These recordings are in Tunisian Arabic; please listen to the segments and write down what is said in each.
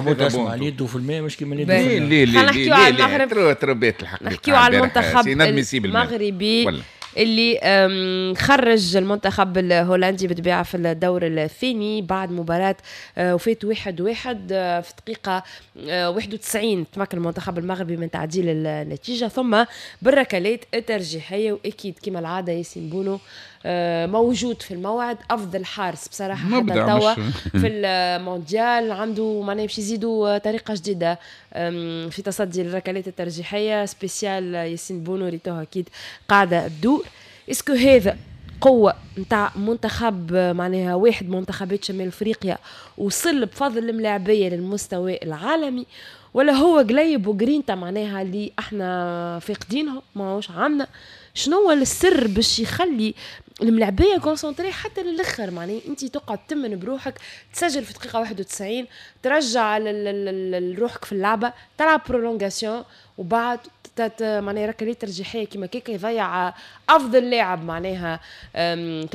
حمود اسمع، اليد في الماء مش كيما اليد في الماء. ليه نحكيو على المغرب، تربيت الحق، نحكيو على المنتخب المغربي اللي خرج المنتخب الهولندي بالطبيعة في الدور الثاني بعد مباراة وفات 1-1. في دقيقة 91 تمكن المنتخب المغربي من تعديل النتيجة ثم بالركلات الترجيحية، وأكيد كما العادة ياسين بونو موجود في الموعد، أفضل حارس بصراحة حتى توا في المونديال، عنده معناها باش يزيدوا طريقة جديدة في تصدي الركلات الترجيحية spécial ياسين بونو، ريتوها أكيد قاعدة تدور. est-ce que هذا قوة نتاع منتخب، معناها واحد منتخبات شمال افريقيا وصل بفضل الملاعبية للمستوى العالمي، ولا هو قليب وجرينتا معناها اللي احنا فاقدينهم ماهوش عندنا؟ شنو هو السر باش يخلي الملاعبيه concentrés حتى للاخر؟ معناها انت تقعد تمن بروحك، تسجل في دقيقة 91، ترجع روحك في اللعبه، تلعب prolongation، وبعد معناها ركلات ترجيحيه كيما كيكا يضيع افضل لاعب معناها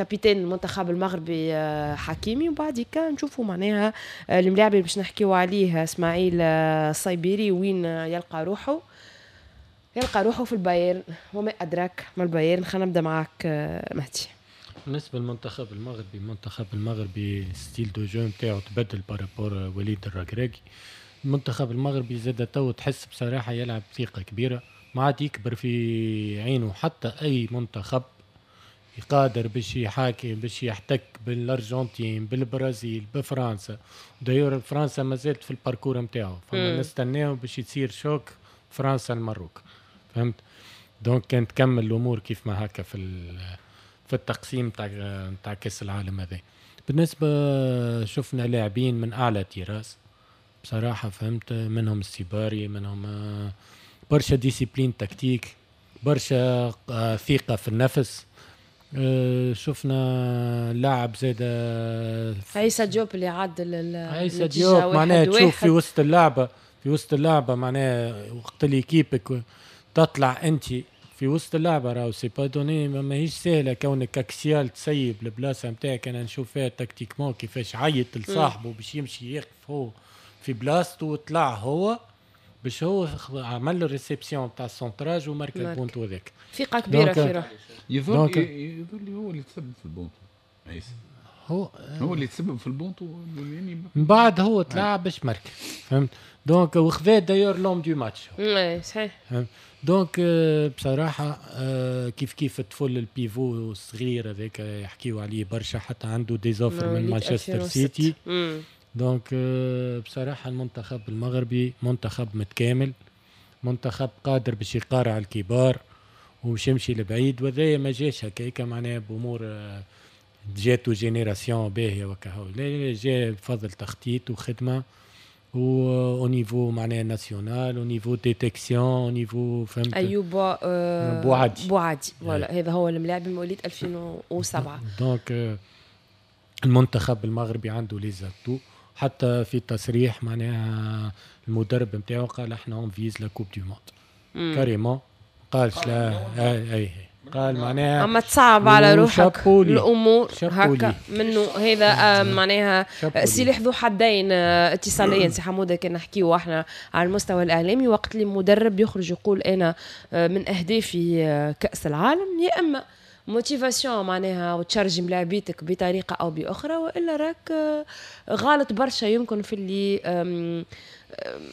capitaine المنتخب المغربي حكيمي. وبعد كان نشوفوا معناها الملاعب اللي باش نحكيو عليه اسماعيل الصيبيري وين يلقى روحه، يلقى روحه في البايرن وما ادراك ما البايرن. خلينا نبدا معاك مهدي. بالنسبة للمنتخب المغربي، المنتخب المغربي style de jeu نتاعو تبدل par rapport وليد الركراكي. المنتخب المغربي زاد تو تحس بصراحة يلعب ثقة كبيره، ما عاد يكبر في عينه حتى اي منتخب، قادر باش يحاكي باش يحتك بالارجنتين، بالبرازيل، بفرنسا. d'ailleurs فرنسا ما زالت في ال parcours نتاعو، فما نستناو باش يصير choc فرنسا المروك، فهمت؟ donc كان تكمل الامور كيف ما هكا في التقسيم تاع كاس العالم هذا. بالنسبة شفنا لاعبين من اعلى طراز بصراحه، فهمت؟ منهم السيباري، منهم برشا discipline tactique، برشا ثقة في النفس. شفنا لاعب زاد عيسى ديوب اللي عدل. عيسى ديوب معناها تشوف في وسط اللعبه معناها وقت اللي équipe ك تطلع انت في وسط اللعبه، راهو c'est pas donné، ماهيش سهلة كونك axial تسيب البلاصة نتاعك. انا نشوف فيها tactiquement كيفاش عيط لصاحبه باش يمشي يقف هو في بلاصته، وطلع هو باش هو عمل له réception تاع ال centrage وماركا البونتو هذاك. ثقة كبيرة في روحه. يظهر لي هو اللي تسبب في البونتو عيسى. هو. هو اللي تسبب في البونتو يعني من بعد هو طلع باش marque، فهمت؟ donc وخذا d'ailleurs l'homme du match. اي صحيح. donc بصراحة كيف كيف الطفل ال pivot الصغير هذاك يحكيو عليه برشا، حتى عنده des offres من مانشستر سيتي. donc بصراحة المنتخب المغربي منتخب متكامل، منتخب قادر باش يقارع الكبار وباش يمشي لبعيد. وهذايا ما جاش هكاك معناها بامور جاتو génération باهيه وكهو، لا، جا بفضل تخطيط وخدمه و au niveau معناها national، au niveau détection، au niveau فهمت؟ ايوب بوعدي. بوعدي، voilà، هذا هو الملاعب مواليد 2007. donc المنتخب المغربي عنده les atouts. حتى في تصريح معناها المدرب نتاعو قال احنا on vise la coupe du monde carrément، قالش لا، اي اي قال معناها اما تصعب على روحك الامور هكا منه هذا معناها سلاح ذو حدين اتصاليا. سي حموده، كان نحكيو احنا على المستوى الاعلامي، وقت اللي مدرب يخرج يقول انا من اهدافي كاس العالم، يا اما motivation معناها وتشارجي ملاعبيتك بطريقة او باخرى، والا راك غلط برشا يمكن في اللي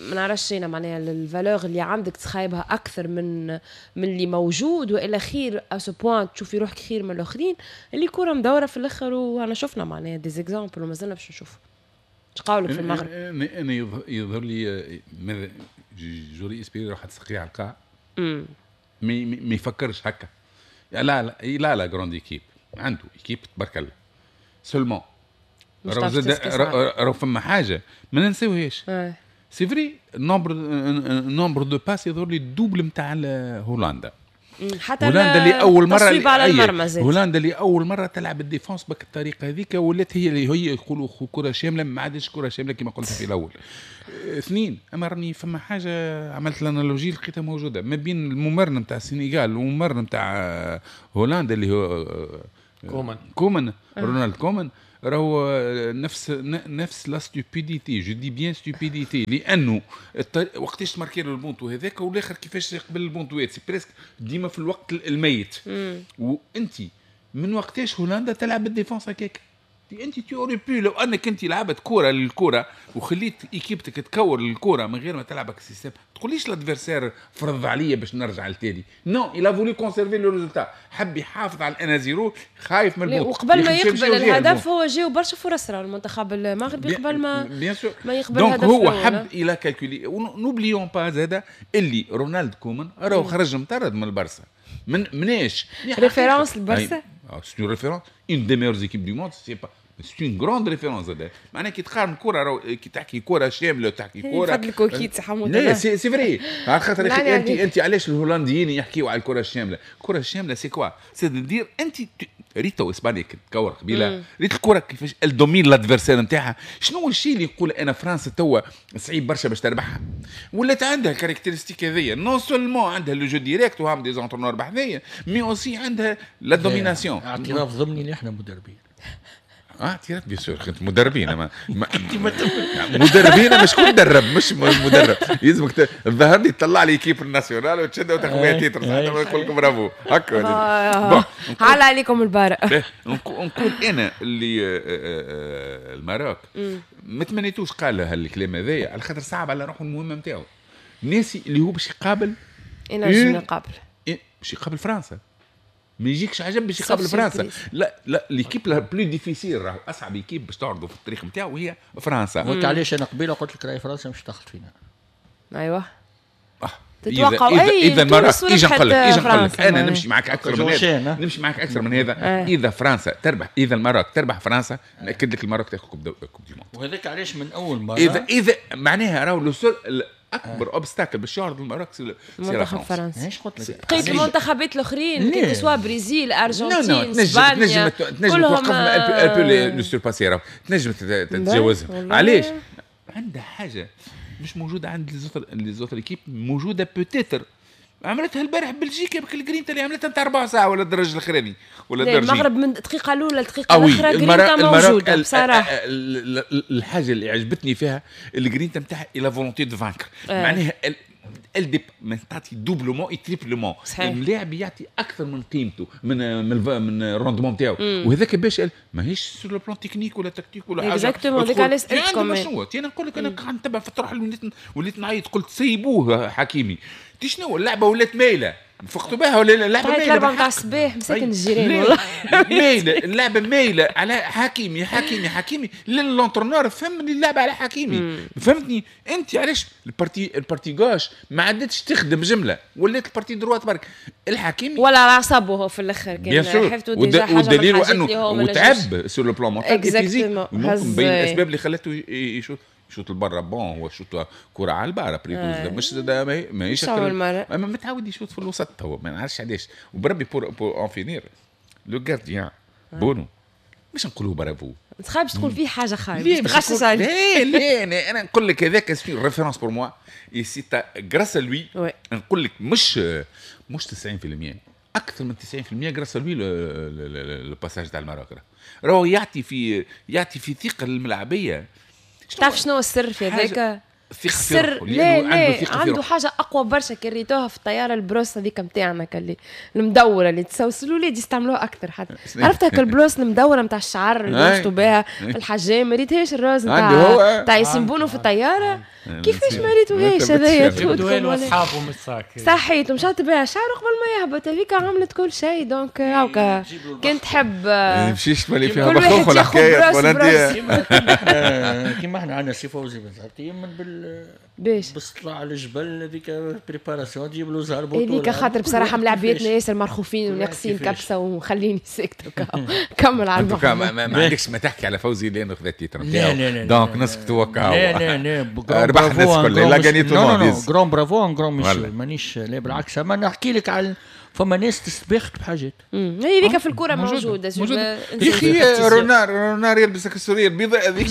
ما نعرفش انا معناها ال valeur اللي عندك تخايبها اكثر من اللي موجود، والا خير à ce point تشوفي روحك خير من الاخرين، اللي كورة مدورة في الاخر. وانا شفنا معناها des exemples ومازلنا باش نشوف. ايش قولك في المغرب؟ انا يظهر لي ماذا j'aurais espéré روح تسقي على القاع، ما يفكرش هكا. لا لا لا لا، grande équipe، عنده équipe تبارك الله، seulement راهو فما حاجة ما ننساوهاش، c'est vrai nombre de passes يظهر لي ال double نتاع هولندا. حتى هولندا اللي اول مره على المرمى. زاد هولندا اللي اول مرة تلعب ال défense بك الطريقة هذيك، ولات هي اللي هي يقولوا كره شامله، ما عادش كره شاملة كما قلت في الاول. اثنين، اما راني فما حاجة عملت l'analogie لقيتها موجودة ما بين الممرن نتاع السنغال والممرن نتاع هولندا اللي هو كومان. كومان، رونالد كومان. راهو نفس la stupidité، je dis bien stupidité، لانه وقتاش تماركي له البونتو هذاك والاخر كيفاش يقبل البونتوات، c'est presque ديما في الوقت الميت. وانت من وقتاش هولندا تلعب بال défense هكاك؟ انت tu aurais pu لو انك انت لعبت كورة للكورة وخليت équipe تك تكور للكورة من غير ما تلعبك système، تقوليش l'adversaire فرض عليا باش نرجع لتالي. non، il a voulu conserver le résultat، حب يحافظ على 1-0، خايف من البوت. وقبل ما يقبل الهدف هو جاو برشا فرص المنتخب المغربي قبل ما ما يقبل الهدف. donc هو حب il a calculé. n'oublions pas زاد اللي رونالد كومان راهو خرج مطرد من البرسا، من مناش référence البرسا، c'est une référence، une des meilleures équipes du monde، c'est pas c'est une grande référence. هذا معناها كي تقارن كره، كي تحكي كره شاملة وتحكي كره فضلك اكيد سي حمود. لا c'est vrai، على خاطر انت علاش الهولنديين يحكيوا على الكره الشاملة؟ الكره الشاملة c'est quoi؟ c'est-à-dire انت ريتو اسبانيا تكور قبيلة، ريت الكره كيفاش elle domine l'adversaire نتاعها. شنو هو الشيء اللي يقول انا فرنسا توا صعيب برشا باش تربحها؟ ولات عندها caractéristiques هذيا، non seulement عندها le jeu direct وهم des entraîneurs بحذايا، mais aussi عندها la domination. اعتراف ضمني اللي احنا مدربين. اعتراف bien sûr، كنت مدربين، ما مدربين، مش شكون مدرب، مش مدرب يلزمك الظهر لي تطلع لي équipe nationale وتشد وتاخذ بها titre، نقول لكم برافو هكا. bon على عليكم البارة. نقول انا اللي ال Maroc ما تمنيتوش قال هالكلام هذايا على خاطر صعب على روحه المهمة نتاعو، ناسي اللي هو باش يقابل، يقابل باش يقابل فرنسا، ما يجيكش عجب باش يقابل فرنسا. لا لا، l'équipe la plus difficile، راهو اصعب équipe باش تعرضوا في التاريخ نتاعو هي فرنسا. وانت علاش انا قبيلة قلت لك راهي فرنسا مش تدخل فينا. ايوه تتوقعوا اي اذا المرة اجا نقول لك، اجا نقول لك انا نمشي معك اكثر من هذا، نمشي معك اكثر من هذا. اذا فرنسا تربح، اذا ال Maroc تربح فرنسا، ناكد لك ال Maroc تاخذ coupe du monde. وهذاك علاش من اول مرة اذا معناها راهو le seul اكبر obstacle باش يعرض ال Maroc c'est منتخب فرنسا. بقيت المنتخبات الاخرين que ce soit بريزيل، ارجنتين، اسبانيا، تنجم توقفهم، elle peut les surpasser، تنجم تتجاوزهم. علاش؟ عندها حاجة مش موجودة عند les autres équipes، موجودة peut-être عملتها البارح بلجيكا بك الجرينتا اللي عملتها نتاع ربع ساعة ولا الدرج الاخراني ولا الدرجين. المغرب من الدقيقة الاولى للدقيقه الاخرى جرينتا موجودة بصراحة. الحاجة اللي عجبتني فيها الجرينتا نتاعها la volonté de vaincre، معناها ال تعطي doublement et triplement، اللاعب يعطي اكثر من قيمته من من ال rendement نتاعو، وهذاك باش ماهيش sur le plan technique ولا tactique ولا حاجة. exactement، هذاك علاش سالتكم. شنو انا نقول لك، انا قاعد نتبع في الطرح، وليت نعيط قلت سيبوه حكيمي، تي شنو اللعبة ولات مايلة، فقتوا بها ولا اللعبة مايلة؟ 4 نتاع الصباح مساكن الجيران والله مايلة، اللعبة مايلة على حكيمي حكيمي حكيمي، l'entraîneur فهم اللعبة على حكيمي. فهمتني انت علاش ال partie gauche ما عادتش تخدم جملة، ولات ال partie droite برك الحكيمي ولا عصبه هو في الاخر كان حفتوا déjà حاجة. والدليل انه وتعب sur le plan mental physique، ممكن بين الاسباب اللي خلته يشوط البرا. bon هو شوط كرة على البارة بريتوز مش ماهيش، اما متعود يشوط في الوسط هو، ما نعرفش علاش. وبربي pour en finir le gardien بونو مش نقولوا برافو، ما تخافش تقول فيه حاجة خايبة تغشش عليه. لا لا، انا نقول لك هذاك c'est référence pour moi، c'est grâce à lui. نقول لك مش 90%، اكثر من 90% grâce à lui le passage تاع ال Maroc، راهو يعطي في ثقة للملاعبيه. تعرف شنو السر في هذاك؟ السر لا لا، عنده حاجة اقوى برشا كي ريتوها في الطيارة، ال brosse هذيك نتاعنا اللي المدوره اللي تسوسلوا الولاد يستعملوها اكثر حتى، عرفت هكا ال brosse المدوره نتاع الشعر اللي يمشطوا بها في الحجام، ما ريتهاش ال rose نتاع ياسين بونو في الطيارة؟ كيفاش ما ريتوهاش هذايا؟ اصحابه من ال sac صحيت ومشات بها شعره قبل ما يهبط، هذيك عملت كل شيء. donc هاكا كان تحب يمشيش تولي فيها بخوخ ولا حكاية ولا انت كيما احنا عندنا سي فوزي بن من باش بس طلع على الجبل هذيك préparation تجيب له زهر بطوله هذيك، خاطر بصراحة ملاعبيتنا ياسر مرخوفين وناقصين كبسة وخليني ساكته كمل على الموضوع. ما عندكش ما تحكي على فوزي لانه خذا ال titre نتاعو، donc نسكتوا وكاو. لا لا لا، ربح الناس الكل، il a gagné tout. grand bravo، un grand monsieur، مانيش لا بالعكس، اما نحكي لك على فما ناس تستباخت بحاجات. هي ذيك في الكورة موجودة. يا اخي رونار يلبس لك السورية البيضاء هذيك،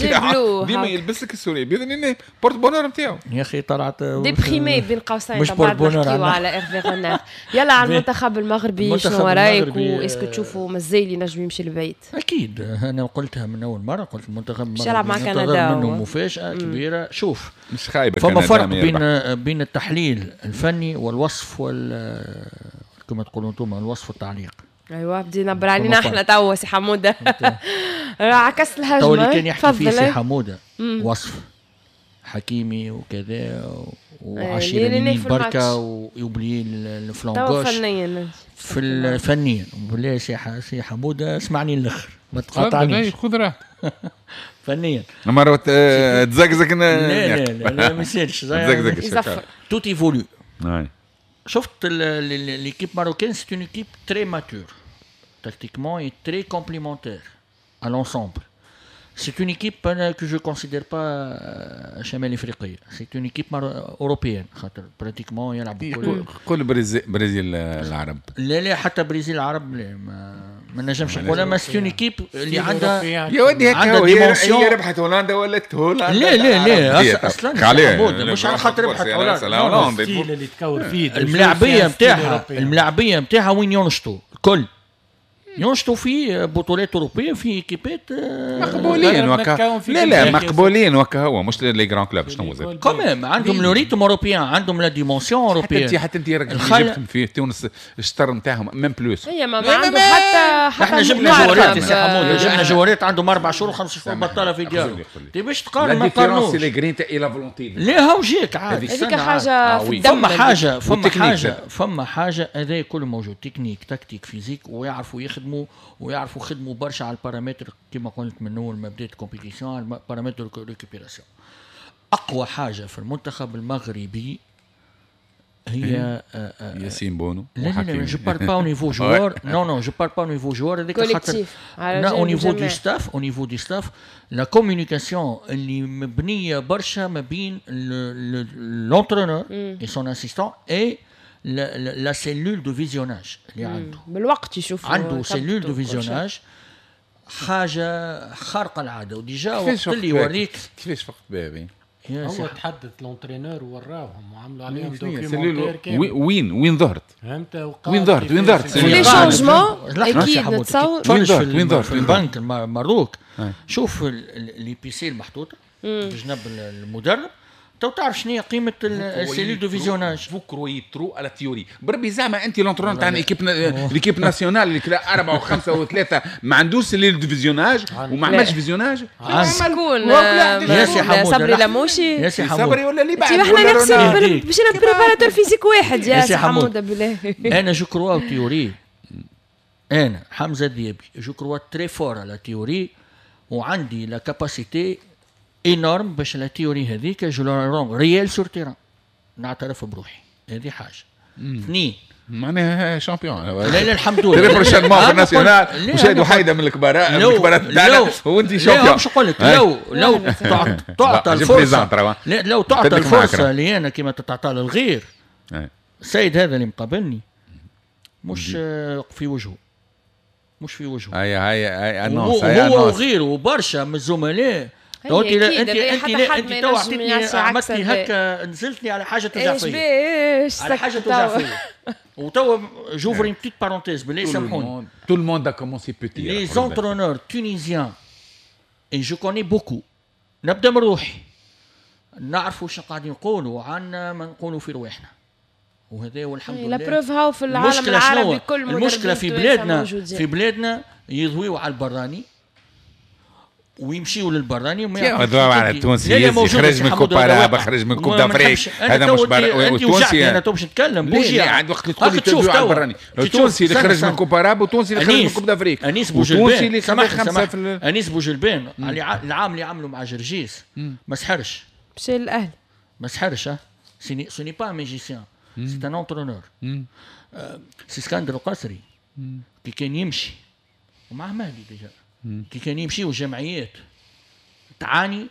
ديما يلبس لك السورية البيضاء porte-bonheur نتاعو. يا اخي طلعت déprimé بين قوسين. مش porte-bonheur على ايرفي رونار. يلا على المنتخب المغربي، شنو رايك و est-ce que تشوفوا مازال ينجم يمشي لبعيد؟ اكيد، انا قلتها من اول مرة، قلت المنتخب المغربي يلعب مع كندا منه مفاجاة كبيرة. شوف مش خايبة، فما فرق بين التحليل الفني والوصف كما تقولوا انتم الوصف والتعليق. ايوه بدينا نبر علينا احنا توا سي حموده. عكست الهجمة. تو اللي كان يحكي فيه سي حموده وصف حكيمي وكذا وعشيرة اليمين بركة ويوبلي ال flanc gauche فنيا في فنيا. بالله سي حموده اسمعني الاخر ما تقاطعنيش، خذ راحتك. فنيا مرة تزقزق. لا لا لا ما يصيرش تزقزق. tout évolue. شفت l'équipe marocaine, c'est une équipe très mature tactiquement et très complémentaire à l'ensemble. C'est une équipe que je considère pas شمال افريقية, c'est une équipe européenne خاطر pratiquement يلعبوا كل برازيل العرب. لا لا حتى برازيل العرب لا ما نجمش نقولها، ما c'est une équipe اللي عندها يا ودي هكا هي ربحت هولندا ولات هولندا. لا لا لا اصلا مش على خاطر ربحت هولندا، اللي تكور فيه الملاعبيه نتاعها وين ينشطوا الكل ينشطوا في بطولات اوروبية في équipe ات مقبولين وكا لا لا مقبولين وكا هو مش les grands clubs شنو زاد quand même عندهم le rythme européen، عندهم la dimension européenne. حتى انت جبتهم في تونس الشطر نتاعهم même plus. هي ما عندهم حتى احنا جبنا joueur ات سي حمود، جبنا joueur ات عندهم 4 شهور و5 شهور بطاله في ديارهم. تي باش تقارن ما تقارنوش la grinta et la volonté. لا هاو جاك عاد هذيك حاجة في الدم. فما حاجة هذا كله موجود، technique tactique physique، ويعرفوا يخدموا ويعرفوا خدموا برشا على البارامتر كما قلت من اول ما بدات compétition، على ال paramètre récupération. اقوى حاجة في المنتخب المغربي هي ياسين بونو. لا لا je parle pas au niveau joueur، non non je parle pas au niveau joueur، هذيك خاطر au niveau du staff، au niveau du staff la communication اللي مبنية برشا ما بين l'entraîneur et son assistant et la cellule de visionnage اللي عنده بالوقت يشوف عنده cellule de visionnage حاجة خارقة العادة. و déjà وقت اللي يوريك كيفاش فقت بها هو تحدث l'entraîneur ووراهم وعملوا عليهم documentaire كامل. وين ظهرت؟ فهمت وين ظهرت؟ وين ظهرت؟ les changements اكيد نتصور. وين ظهرت؟ في البنك الماروك شوف les PC المحطوطه بجنب المدرب تو تعرف شنو هي قيمة ال cellule de visionnage. vous croyez trop à la théorie بربي زعما انت l'entraîneur تاع l'équipe nationale اللي كلا 4 و5 و3 ما عندوش cellule de visionnage وما عملش visionnage. شكون يا سي حمود؟ صبري لموشي يا سي حمود صبري ولا اللي بعد؟ احنا ناقصين مشينا préparateur physique واحد يا سي حمود بالله. انا je crois théorie، انا حمزة الذيابي je crois très fort à la théorie وعندي la capacité énorme باش la théorie هذيك je la rends réelle sur terrain. نعترف بروحي هذه حاجة. اثنين معناها champion. لا لا الحمد لله très prochainement في ال national وشاد وحيده من الكبار من الكبارات تاعنا وانت champion. باش نقول لك لو تعطى الفرصة، لو تعطى الفرصة لي انا كما تتعطى للغير. السيد هذا اللي مقابلني مش في وجهه، مش في وجهه. هيا هيا annonce هو وغيره وبرشا من الزملاء. انت انت انت تو عطيتني عملتني هكا نزلتني على حاجة توجع فيا، على حاجة توجع فيا. وتوا j'ouvre une petite parenthèse بالله سامحوني. tout le monde a commencé petit. les entraîneurs tunisiens et je connais beaucoup، نبدا من روحي نعرفوا شنو قاعدين نقولوا عنا ما نقولوا في رواحنا، وهذا والحمد لله. la preuve هاو في العالم العربي كل المشكلة في بلادنا، في بلادنا يضويوا على البراني ويمشيوا للبراني وما يضويوا على التونسي. خرج من coupe arabe، خرج من coupe d'Afrique، هذا مش التونسي. انا تو باش نتكلم بوجي عند وقت تقول تضويوا على البراني. التونسي اللي خرج من coupe arabe والتونسي اللي خرج من coupe d'Afrique، انيس بوجلبان اللي خمسة في انيس بوجلبان العام اللي عملوا مع جرجيس ما سحرش، مشى للاهلي ما سحرش. ce n'est pas un magicien، c'est un entraîneur. سي اسكندر القصري كي كان يمشي ومع مهدي déjà كي كان يمشي والجمعيات تعاني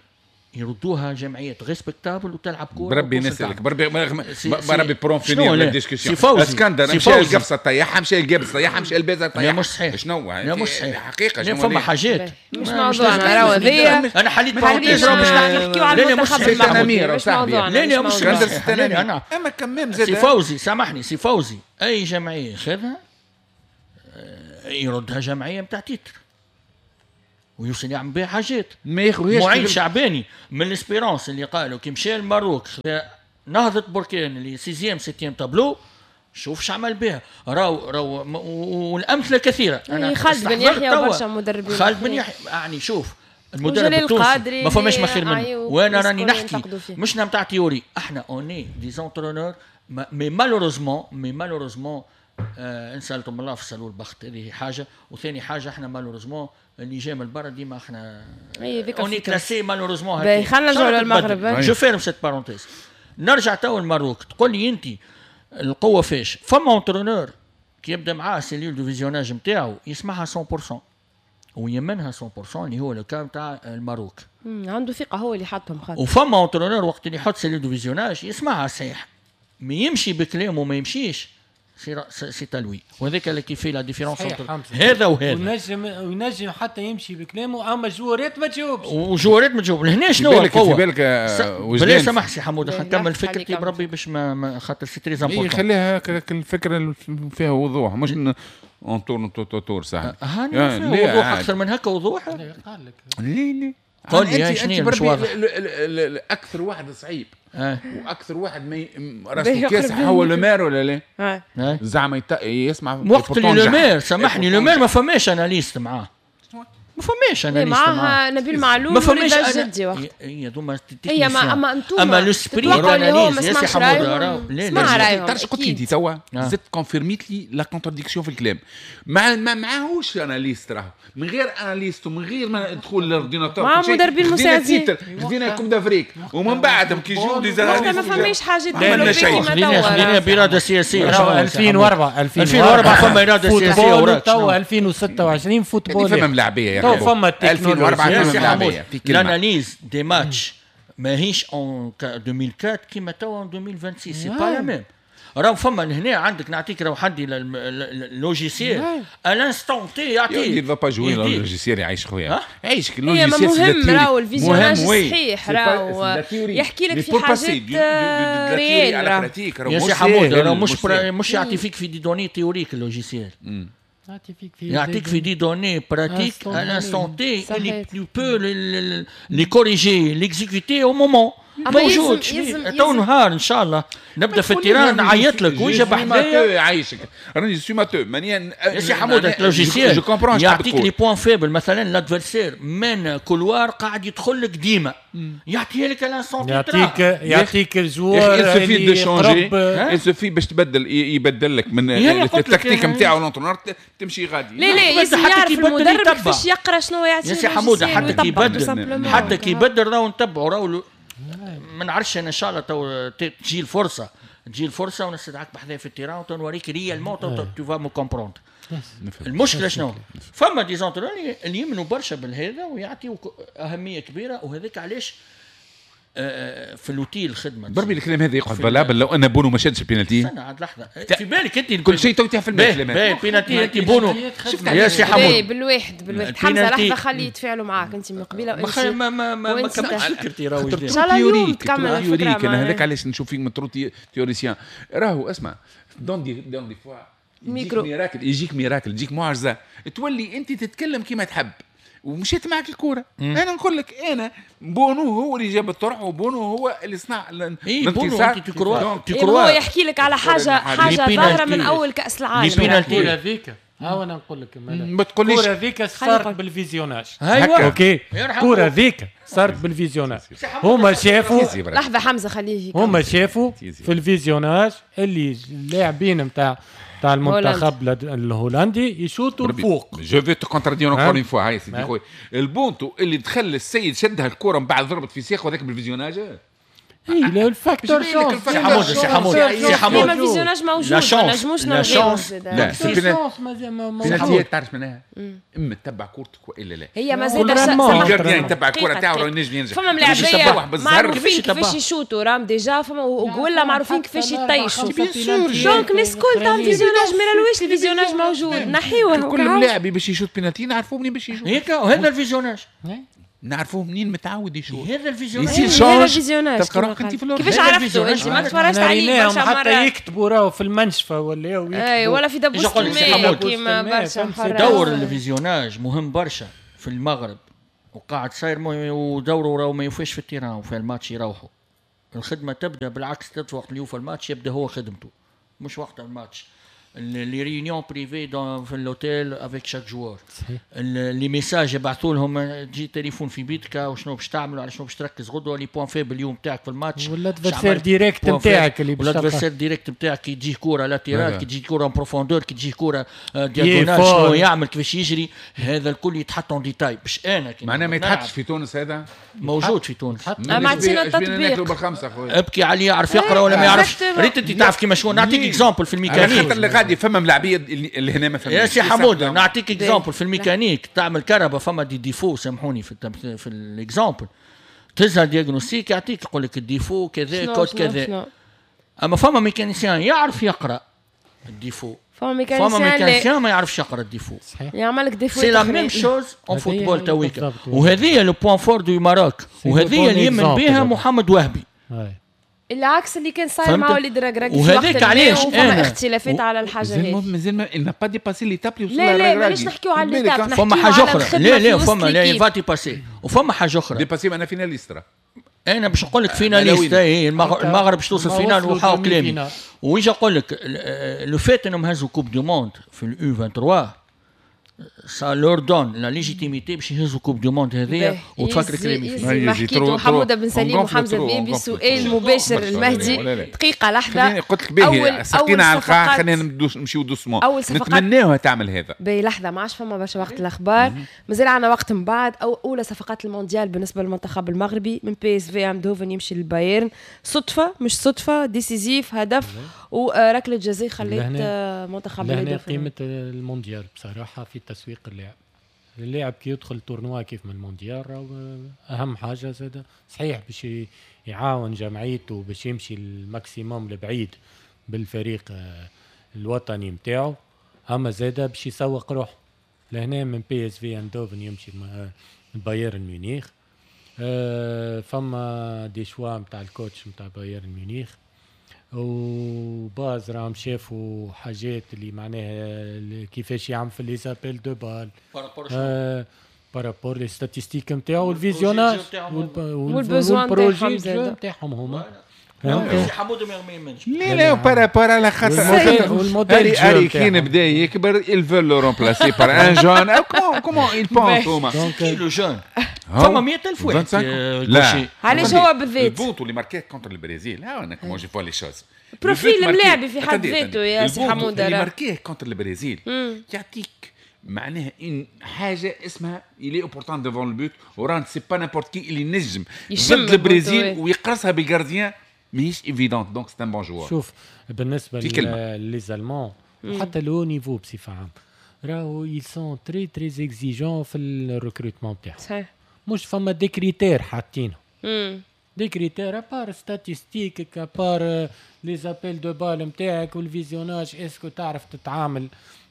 يردوها جمعيات respectables وتلعب كورة. بربي نسالك، بربي بربي pour en finir la discussion. اسكندر مشى القفصه طيحها، مشى القبص طيحها، مشى البازا طيحها. مش صحيح. شنو مش صحيح حقيقة؟ شنو فما حاجات مش موضوعنا راهو هذيا. انا حليت parenthèse باش نحكيو على المنتخب المغربي، مش موضوعنا. لا لا مش اسكندر. اما كمام زاد سي فوزي، سامحني سي فوزي، اي جمعية خذها يردها جمعية نتاع titre ويوصل يعمل بها حاجات. ما ياخذهاش معين شعباني من l'Espérance اللي قالوا كي مشى الماروك نهضة بركان اللي sixième septième tableau، شوف شو عمل بها. راو والامثلة كثيرة. انا خالد بن يحيى وبرشا مدربين. خالد بن يحيى يعني شوف المدرب التونسي ما فماش ما خير منه. وانا راني نحكي مش نتاع théorie، احنا on est des entraîneurs mais malheureusement نسالتم الله في البخت، هذه حاجة. وثاني حاجة احنا malheureusement اللي جاي من برا ديما احنا on est classé malheureusement. باهي خلينا نرجعوا للمغرب. je ferme cette parenthèse. نرجع تو للماروك. تقول لي انت القوة فاش؟ فما entraîneur كي يبدا معاه cellule de visionnage نتاعو يسمعها 100% ويمنها 100% اللي هو le cas نتاع الماروك. عنده ثقة هو اللي حطهم خاطر. وفما entraîneur وقت اللي يحط cellule de visionnage يسمعها صحيح، ما يمشي بكلامه ما يمشيش c'est à lui. وهذاك اللي qui fait la différence هذا وهذا. وينجم حتى يمشي بكلامه، اما جوارات ما تجاوبش. وجوارات ما تجاوب. لهنا شنو القوة؟ في بالك بلا سمح سي حمود نكمل فكرتي بربي باش ما خاطر c'est très important. خليها الفكرة فيها وضوح، مش on tourne autour صح. هاني وضوح اكثر من هكا وضوح. قال لك ليه قول لي شنو مش واضح. اكثر واحد صعيب واكثر واحد ما راسه كاسح هو لومير ولا لا؟ زعما يسمع وقت اللي لومير، سامحني لومير ما فماش analyste معاه، ما فماش analyste معاه نبيل معلول ما فماش جدي وقت. هي دوما هي ما اما انتم اما l'esprit analyse يا سي حمود. لا تعرف قلت لي انت توا زدت confirmيت لي la contradiction في الكلام. ما معاهوش analyste، راهو من غير analyste ومن غير ما ندخل لل ordinateur مع مدربين مساعدين خدينا Coupe d'Afrique ومن بعد كي يجيو des analystes ما فماش حاجة تدخلوا كيما توا. خلينا باراده سياسية. 2004 فما اراده سياسية وراك. توا 2026 football فما ملاعبيه يا فما 2004 فما l'analyse des matchs ماهيش en 2004 كيما توا en 2026، c'est pas la même. راهو فما هنا عندك نعطيك راهو حدي logiciel à l'instant T يعطيك. il va pas jouer le logiciel يعيش خويا، عيشك ال logiciel مهم. راهو ال visionnage صحيح، راهو يحكي لك في حاجات réelles. يا سي حمود راهو مش يعطي فيك في des données théoriques ال logiciel، يعطيك في des données pratiques à l'instant T اللي tu peux les corriger l'exécuter au moment. موجود تو نهار ان شاء الله نبدا في ال terrain نعيط لك ويجي بحذايا يعيشك. راني suis matheux ماني يا سي حمود. ال logiciel يعطيك les points faibles، مثلا l'adversaire من couloir قاعد يدخل لك ديما يعطيها لك l'instant يعطيك ال joueur il suffit de changer، il suffit باش تبدل، يبدل لك من التكتيك نتاعو l'entraîneur تمشي غادي. لا لا لازم يعرف المدرب كيفاش يقرا شنو يعطي يا سي حمود. حتى كي يبدل، حتى كي يبدل راهو نتبعوا راهو ما نعرفش. انا ان شاء الله تو تجي الفرصة، تجي الفرصة ونستدعك بحذايا في ال terrain ونوريك réellement tu vas me comprendre. المشكلة شنو؟ فما des entraîneurs اللي يمنوا برشا بالهذا ويعطيو اهمية كبيرة، وهذاك علاش في l'outil الخدمة. بربي الكلام هذا يقعد valable لو ان بونو ما شادش البينالتي. استنى عاد لحظة، في بالك انت كل شيء تو في الماتش. باهي بينالتي انت بونو يا سي حمود. بالواحد حمزة لحظة خليه يتفاعلوا معاك انت من قبيلة. ما ما ما كملتش فكرتي راهو. ان شاء الله اليوم تكمل الفكرة. انا هذاك علاش نشوف فيك trop théoricien. راهو اسمع dans des fois يجيك miracle، يجيك miracle، يجيك معجزه، تولي انت تتكلم كيما تحب ومشيت معك الكورة. انا نقول لك انا بونو هو اللي جاب الطرح وبونو هو اللي صنع الانتصار. هو يحكي لك على حاجة ظاهره من اول كاس العالم. الكورة هذيك ها انا نقول لك ما تقوليش الكورة هذيك صارت بال visionnage. ايوه OK الكورة هذيك صارت بال visionnage. هما شافوا لحظة حمزة خليه، هما شافوا في ال visionnage اللي اللاعبين نتاع المنتخب الهولندي يشوطوا الفوق. je vais te contredire encore une fois. هاي سيدي خويا البونتو اللي دخل السيد شدها الكره من بعد ضربت في ساقه وهذاك بال visionnage. اي لا ال facteur chance. سي حمود، سي حمود، سي حمود، ما visionnage موجود، ما نجموش la chance. لا بينالتيات تعرف معناها اما تتبع كورتك والا لا. هي مازال ال gardien يتبع الكره تاعو راه ينجم ينجح. فما ملاعبيه معروفين كيفاش يشوتوا رام déjà، فما وقولا معروفين كيفاش يطيشوا، donc الناس الكل تعمل visionnage. ما علاش ال visionnage موجود؟ نحيوه. كل ملاعبي باش يشوت بينالتي نعرفوه منين باش يشوت. هيك وهذا ال visionnage نعرفوه منين متعود يشوف. هذا ال visionnage يصير change، تلقى روحك انت في الأرض. كيفاش عرفتوا انت ما تفرجت عليه برشا مرات؟ حتى يكتبوا راهو في المنشفه ولا اي ولا في دبوس الماء كيما برشا. دور ال visionnage مهم برشا في المغرب وقاعد صاير، ودوره راهو ما يوفيش في ال terrain وفي الماتش يروحوا. الخدمة تبدا بالعكس، وقت اللي يوفى الماتش يبدا هو خدمته، مش وقت الماتش. les réunions privées في l'hôtel avec chaque joueur، les messages يبعثوا لهم، تجي تليفون في بيتك وشنو باش تعمل وعلى شنو باش تركز غدوه، les points faibles اليوم تاعك في الماتش، ولا l'adversaire direct نتاعك اللي باش l'adversaire direct نتاعك كي تجيه كورة latérale، كي تجي كورة profondeur، كي تجي كورة diagonale، شنو يعمل كيفاش يجري، هذا الكل يتحط en détail. باش انا معناها ما يتحطش في تونس. هذا موجود في تونس، ما عطينا التطبيق. ابكي عليه يعرف يقرا ولا ما يعرفش. ريت انت تعرف كيما شنو نعطيك exemple في الميكانيك. فما ملاعبيه اللي هنا ما فهمش. يا سي حمود نعطيك exemple في الميكانيك، تعمل كهرباء فما des défauts، سامحوني في ال exemple، تهزها diagnostic يعطيك يقول لك ال défaut كذا كود كذا. اما فما mécanicien يعرف يقرا ال défaut، فما mécanicien ما يعرفش يقرا ال défaut، يعمل لك défaut. c'est la même chose en football تويكا. وهذه le point fort du Maroc، وهذه اللي يمن بها محمد وهبي، العكس اللي كان صاير مع وليد الركراكي. وهذاك علاش فما اختلافات على الحاجة هذه. مازال n'a pas dépassé l'étape اللي وصل. لا لا مانيش نحكيو على l'étape، فما حاجة اخرى. لا لا فما لا va dépasser، وفما حاجة اخرى dépasser. انا finaliste، انا باش نقول لك finaliste. المغرب باش توصل finale وحاو كلامي. ويجي نقول لك le fait انهم هزوا coupe du monde في ال U 23 ça leur donne la légitimité باش يهزوا coupe du monde هذيا. وتفكر كلامي فيه. حكيتو حموده بن سليم وحمزة بيبي. سؤال مباشر المهدي، دقيقة لحظة. قلت لك باهي سقينا على القاع، خلينا نمشيو doucement. نتمناوها تعمل هذا. باهي لحظة، ما عادش فما برشا وقت الاخبار، مازال عندنا وقت من بعد. او اولى صفقات المونديال بالنسبة للمنتخب المغربي، من بي اس في اندوفن يمشي للبايرن. صدفة مش صدفة، décisif، هدف وركله جزاء خلت منتخب لهنا قيمة المونديال بصراحة في تسويق اللاعب. اللاعب كي يدخل tournoi كيف من المونديال اهم حاجة زاد صحيح باش يعاون جمعيته باش يمشي ال maximum لبعيد بالفريق الوطني نتاعو، اما زاد باش يسوق روحه. لهنا من بي اس في اندوفن يمشي بايرن ميونخ. فما des choix نتاع ال coach نتاع بايرن ميونخ وباز راهم شافوا حاجات اللي معناها كيفاش يعمل في les appels de balle par rapport les statistiques نتاعو وال visionnage وال besoin نتاعهم هما. حمود ما يمنش. لا لا par rapport على خاطر هاري كين بدا يكبر ils veulent le remplacer par un jeune. comment ils pensent هما le jeune فما 100000 واحد. لا علاش هو بالذات البوتو اللي ماركات contre البرازيل. ها انا comment je vois les choses profil الملاعبي في حد ذاته يا سي حمود اللي marqué contre البرازيل يعطيك معناها ان حاجة اسمها il est opportun devant le but وران c'est pas n'importe qui اللي نجم ضد البرازيل ويقرصها بال gardien ماهيش évidente. donc c'est un bon joueur. شوف بالنسبة les Allemands وحتى le niveau بصفة عامة راهو ils sont très très exigeants في ال recrutement تاعهم. صحيح. مش فما des critères حاطينهم. des critères à part statistiques à part les appels de balle نتاعك وال visionnage، est-ce que تعرف تتعامل،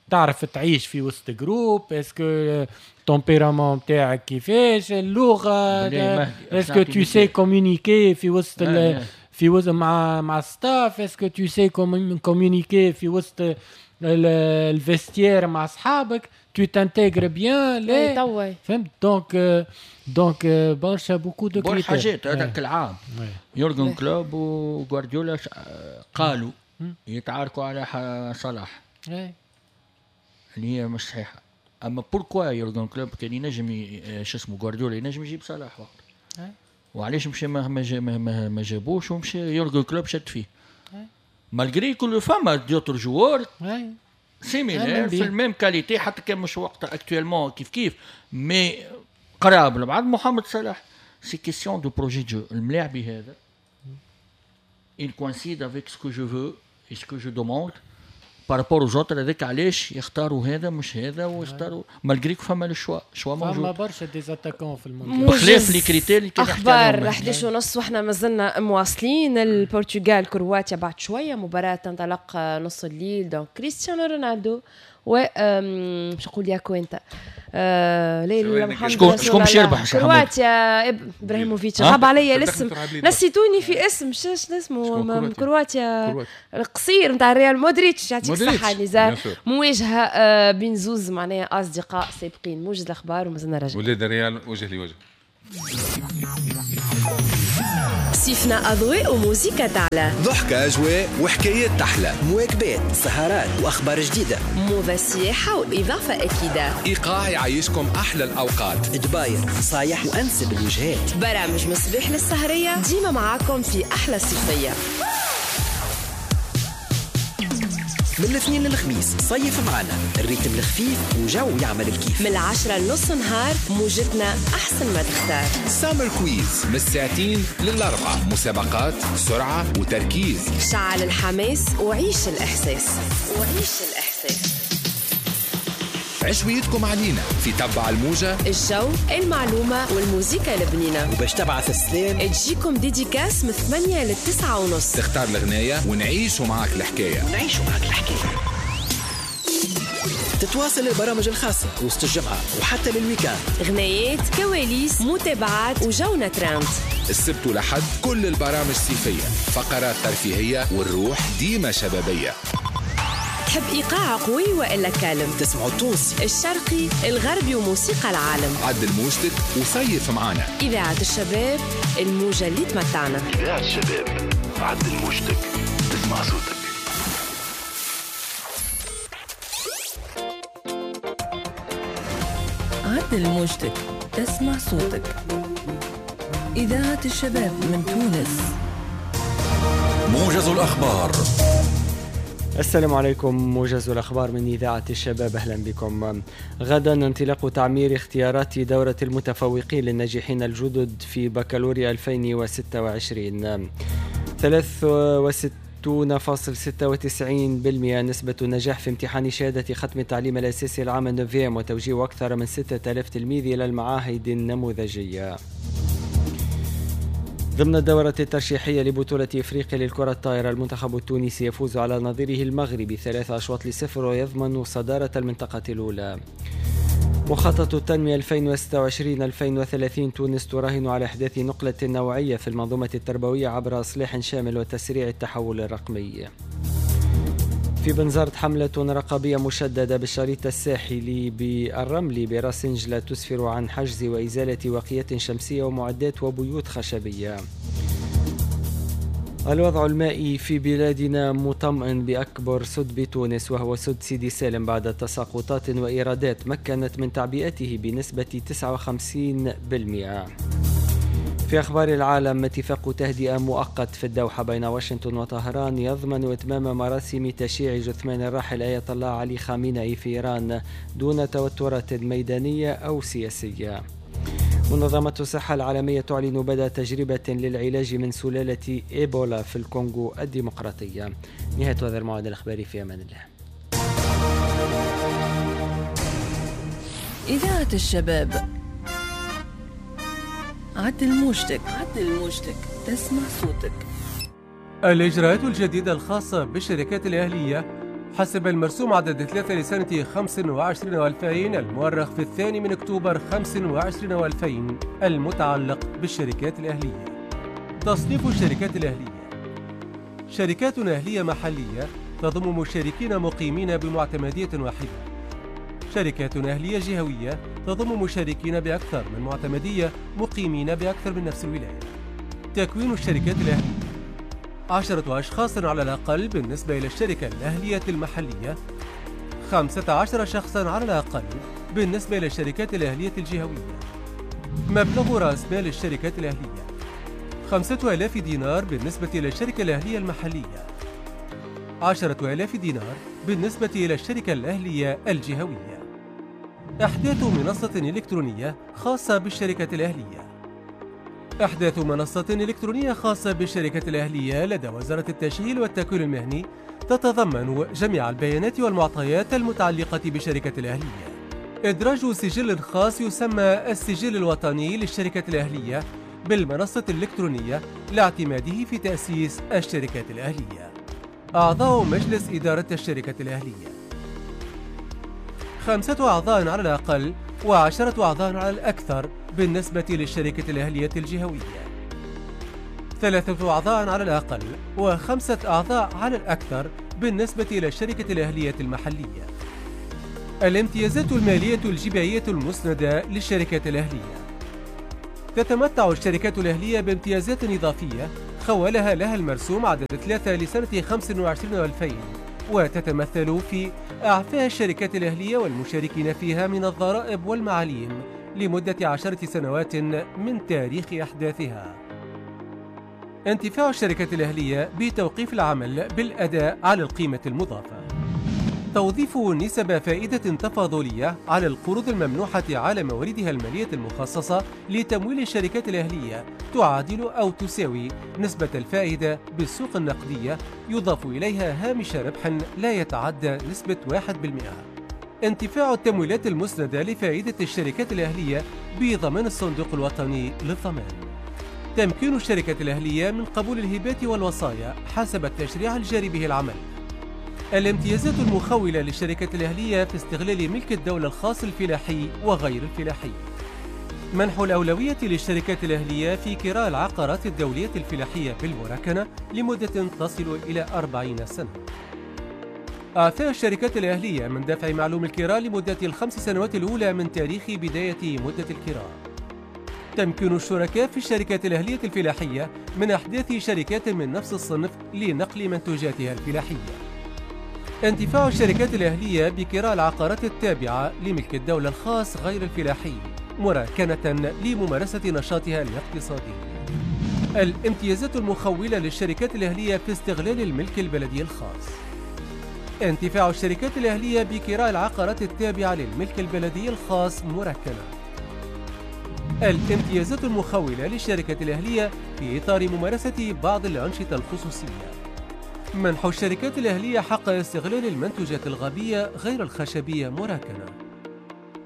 تعرف تعيش في وسط groupe، est-ce que tempérament نتاعك كيفاش، اللغة، est-ce que tu sais communiquer في وسط في وسط مع staff، est-ce que tu sais communiquer في وسط ال vestiaire مع اصحابك، tu t'intègres bien. لا فهمت. donc برشا beaucoup de critères حاجات. هذاك العام يورجن كلوب وغوارديولا قالوا يتعاركوا على صلاح اللي هي مش صحيحه. اما pourquoi يورجن كلوب كان ينجم شو اسمه غوارديولا ينجم يجيب صلاح وقت، وعلاش مشى ما جابوش ومشى يورجن كلوب شد فيه malgré كل فما d'autres joueurs similaires في ال même qualité حتى كان مش وقت actuellement كيف كيف mais قراب لبعض. محمد صلاح c'est question de projet de jeu. الملاعبي هذا il coïncide avec ce que je veux et ce que je demande par rapport aux autres. هذاك علاش يختاروا هذا مش هذا ويختاروا malgré فما le choix، choix موجود. فما برشا des attaquants في المونديال بخلاف les critères اللي كان يحكي عليهم. اخبار 11:30 واحنا مازلنا مواصلين. البرتغال كرواتيا بعد شوية، مباراة تنطلق نص الليل. donc كريستيانو رونالدو و باش نقول يا كوينتا لا محمد شكون باش يربح؟ كرواتيا ابراهيموفيتش. غاب عليا الاسم، نسيتوني في اسم، شنو اسمه؟ كرواتيا القصير نتاع ريال، مودريتش. يعطيك الصحة نزار. مواجهة بين زوز معناها اصدقاء سابقين. موجز الاخبار ومازلنا راجعين. ولاد الريال وجه لوجه. صيفنا أضواء وموسيقى تعلى، ضحكة أجواء وحكايات تحلى، مواكبات، سهرات وأخبار جديدة، موضة سياحة وإضافة أكيدة، إيقاع يعيشكم أحلى الأوقات، دباير نصايح وأنسب الوجهات، برامج مصباح للسهرية، ديما معاكم في أحلى صيفية من الاثنين للخميس. صيف معنا ال rythme الخفيف وجو يعمل الكيف، من 10 لنص نهار موجتنا أحسن ما تختار. summer quiz من 2:00 ل 4:00، مسابقات، سرعة وتركيز، شعل الحماس وعيش الإحساس، وعيش الإحساس. عشويتكم علينا في تبع الموجة، الجو، المعلومة والموسيقى البنينة. وباش تبعث السلام تجيكم dédicace من 8 ل 9:30. تختار الغناية ونعيشوا معاك الحكاية، ونعيشوا معاك الحكاية. تتواصل البرامج الخاصة وسط الجمعة وحتى لل week-end، غنايات، كواليس، متابعات وجونا ترند. السبت ولحد كل البرامج صيفية، فقرات ترفيهية والروح ديما شبابية. تحب إيقاع قوي وإلا calme؟ تسمعوا التونسي، الشرقي، الغربي وموسيقى العالم. عدل موجتك وصيف معانا. إذاعة الشباب، الموجة اللي تمتعنا. إذاعة الشباب، عدل موجتك تسمع صوتك. عدل موجتك تسمع صوتك. إذاعة الشباب من تونس. موجز الأخبار. السلام عليكم، موجز الأخبار من إذاعة الشباب، أهلا بكم. غدا انطلاق تعمير اختيارات دورة المتفوقين للناجحين الجدد في بكالوريا 2026. 63.96% نسبة النجاح في امتحان شهادة ختم التعليم الأساسي العام ال neuvième، وتوجيه أكثر من 6000 تلميذ إلى المعاهد النموذجية. ضمن الدورة الترشيحية لبطولة إفريقيا للكرة الطائرة، المنتخب التونسي يفوز على نظيره المغربي 3-0 ويضمن صدارة المنطقة الأولى. مخطط التنمية 2026-2030، تونس تراهن على إحداث نقلة نوعية في المنظومة التربوية عبر إصلاح شامل وتسريع التحول الرقمي. في بنزرت حملة رقابية مشددة بالشريط الساحلي بالرمل براس إنجلة تسفر عن حجز وإزالة واقيات شمسية ومعدات وبيوت خشبية. الوضع المائي في بلادنا مطمئن بأكبر سد بتونس وهو سد سيدي سالم بعد تساقطات وإيرادات مكنت من تعبئته بنسبة 59%. في أخبار العالم، اتفاق تهدئة مؤقت في الدوحة بين واشنطن وطهران يضمن إتمام مراسم تشييع جثمان الراحل آية الله علي خامنئي في إيران دون توترات ميدانية أو سياسية. منظمة الصحة العالمية تعلن بدء تجربة للعلاج من سلالة إيبولا في الكونغو الديمقراطية. نهاية هذا الموعد الإخباري، في أمان الله. إذاعة الشباب، عدل موجتك، عدل موجتك تسمع صوتك. الإجراءات الجديدة الخاصة بالشركات الأهلية حسب المرسوم عدد 3 لسنة 25 و2000 المؤرخ في 2 أكتوبر 25 و2000 المتعلق بالشركات الأهلية. تصنيف الشركات الأهلية: شركات أهلية محلية تضم مشاركين مقيمين بمعتمدية واحدة، شركات أهلية جهوية تضم مشاركين بأكثر من معتمدية مقيمين بأكثر من نفس الولاية. تكوين الشركات الأهلية: 10 أشخاص على الأقل بالنسبة إلى الشركة الأهلية المحلية، 15 شخصا على الأقل بالنسبة إلى الشركات الأهلية الجهوية. مبلغ رأس مال الشركات الأهلية 5000 دينار بالنسبة إلى الشركة الأهلية المحلية، 10000 دينار بالنسبة إلى الشركة الأهلية الجهوية. إحداث منصة إلكترونية خاصة بالشركة الأهلية. إحداث منصة إلكترونية خاصة بالشركة الأهلية لدى وزارة التشغيل والتكوين المهني تتضمن جميع البيانات والمعطيات المتعلقة بالشركة الأهلية. إدراج سجل خاص يسمى السجل الوطني للشركة الأهلية بالمنصة الإلكترونية لاعتماده في تأسيس الشركات الأهلية. أعضاء مجلس إدارة الشركة الأهلية 5 أعضاء على الأقل و10 أعضاء على الأكثر بالنسبة للشركة الأهلية الجهوية، 3 أعضاء على الأقل و5 أعضاء على الأكثر بالنسبة إلى الشركة الأهلية المحلية. الامتيازات المالية الجبائية المسندة للشركات الأهلية. تتمتع الشركات الأهلية بامتيازات إضافية خولها لها المرسوم عدد 3 لسنة 25 و2000، وتتمثل في إعفاء الشركات الأهلية والمشاركين فيها من الضرائب والمعاليم لمدة 10 سنوات من تاريخ إحداثها. انتفاع الشركات الأهلية بتوقيف العمل بالأداء على القيمة المضافة. توظيف نسب فائدة تفاضلية على القروض الممنوحة على مواردها المالية المخصصة لتمويل الشركات الأهلية تعادل أو تساوي نسبة الفائدة بالسوق النقدية، يضاف إليها هامش ربح لا يتعدى نسبة 1%. انتفاع التمويلات المسندة لفائدة الشركات الأهلية بضمان الصندوق الوطني للضمان. تمكين الشركات الأهلية من قبول الهبات والوصايا حسب التشريع الجاري به العمل. الامتيازات المخولة للشركات الأهلية في استغلال ملك الدولة الخاص الفلاحي وغير الفلاحي. منح الأولوية للشركات الأهلية في كراء العقارات الدولية الفلاحية بالمراكنة لمدة تصل إلى 40 سنة. إعفاء الشركات الأهلية من دفع معلوم الكراء لمدة 5 سنوات الأولى من تاريخ بداية مدة الكراء. تمكين الشركاء في الشركات الأهلية الفلاحية من إحداث شركات من نفس الصنف لنقل منتوجاتها الفلاحية. انتفاع الشركات الأهلية بكراء العقارات التابعة لملك الدولة الخاص غير الفلاحي مراكنة لممارسة نشاطها الاقتصادي. الامتيازات المخولة للشركات الأهلية في استغلال الملك البلدي الخاص. انتفاع الشركات الأهلية بكراء العقارات التابعة للملك البلدي الخاص مراكنة. الامتيازات المخولة للشركات الأهلية في إطار ممارسة بعض الأنشطة الخصوصية. منح الشركات الأهلية حق استغلال المنتوجات الغابية غير الخشبية مراكنة.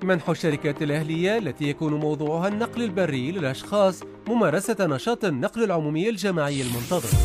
منح الشركات الأهلية التي يكون موضوعها النقل البري للأشخاص ممارسة نشاط النقل العمومي الجماعي المنتظم.